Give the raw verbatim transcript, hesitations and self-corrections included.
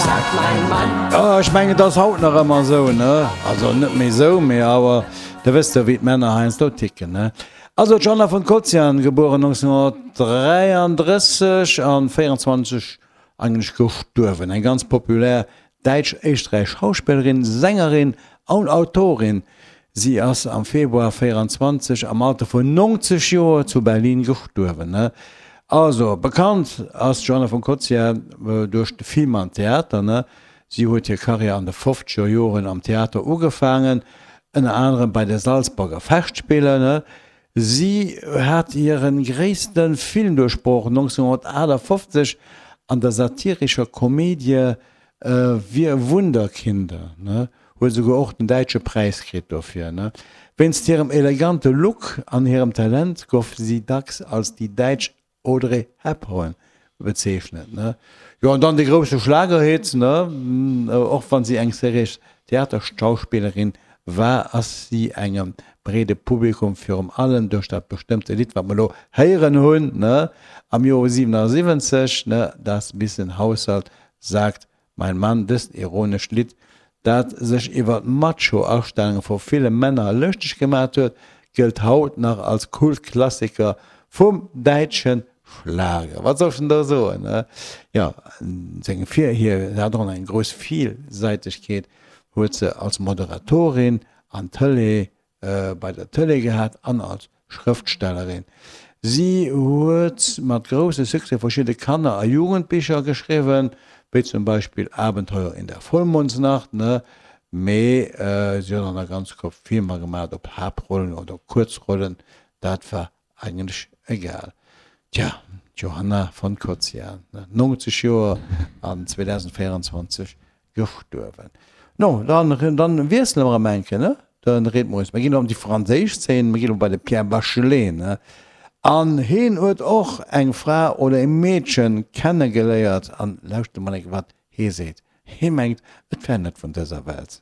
Sagt mein Mann. Oh, ech mengen, et ass haut nach ëmmer esou, ne? Also net méi esou, mee awer de wësst jo, wéi d'Männer heiansdo ticken, ne? Also d'Johanna von Kocjan, gebueren nonzénhonnertdräiandrësseg an véierenzwanzeg eigentlech gestuerwen, eng ganz populär däitsch-éisträichesch Schauspillerin, Sängerin an Autorin. Si ass am Februar véierenzwanzeg am Alter vun nonzeg Joer zu Berlin gestuerwen, ne? Also, bekannt ass d'Johanna von Kocjan duerch de Film an Theater, ne? Si huet hir Karriär an de fofzeger Joren am Theater ugefaangen, ënner anerem bei de Salzburger Festspiele, ne? Si hat hire gréisste Filmduerchbroch nonzénhonnertaachtafoffzeg an der satirescher Komedie Wir Wunderkinder, ne? Huet esouguer och den däitsche Präis kritt dofir, ne? Wéinst hirem elegante Look an hirem Talent gouf si dacks als déi däitsch Audrey Hepburn bezeechnet, ne? Jo, an dann de grousse Schlagerhit, ne? Och wann si eng seriéis Theaterschauspillerin war, ass si engem breede Publikum virum allem duerch dat bestëmmte Lidd, wat mer elo héieren hunn, ne? Am Joer siwenasiwwenzeg, ne? Das bisschen Haushalt sagt mein Mann, dëst ironescht Lidd, dat sech iwwer d'Macho-Astellunge vu ville Männer lëschteg gemat huet, gëllt haut nach als Kultklassiker vum däitsche Schlager. Wat soll ech denn do soen, ne? Jo, seng Vir, hir hat och eng grouss Villsäitegkeet, huet se als Moderatorin an Tëlee, bei der Tëlee gehat an als Schrëftstellerin. Si huet mat grousse Succès verschidde Kanner a Jugendbicher geschriwwen, wéi zum Beispill Abenteuer in der Vollmondsnacht, ne? Mee si huet och nach ganz Koup Filmer gemaat, ob Haaptrollen oder Kuerzrollen, dat war eigentlech egal. Tja, d'Johanna von Kocjan, nonzeg Joer an zweedausendvéierenzwanzeg gestuerwen. No, dann, dann wiessele mer erëm eng Kéier, ne? Den Rhythmus. Mir ginn elo an déi franséisch Zeen, mir ginn elo bei de Pierre Bachelet, ne? An heen huet och eng Fra oder e Meedchen kennegeléiert an lauschtert emol eng Kéier, wat hee seet. Hee mengt, et wär net vun dëser Welt.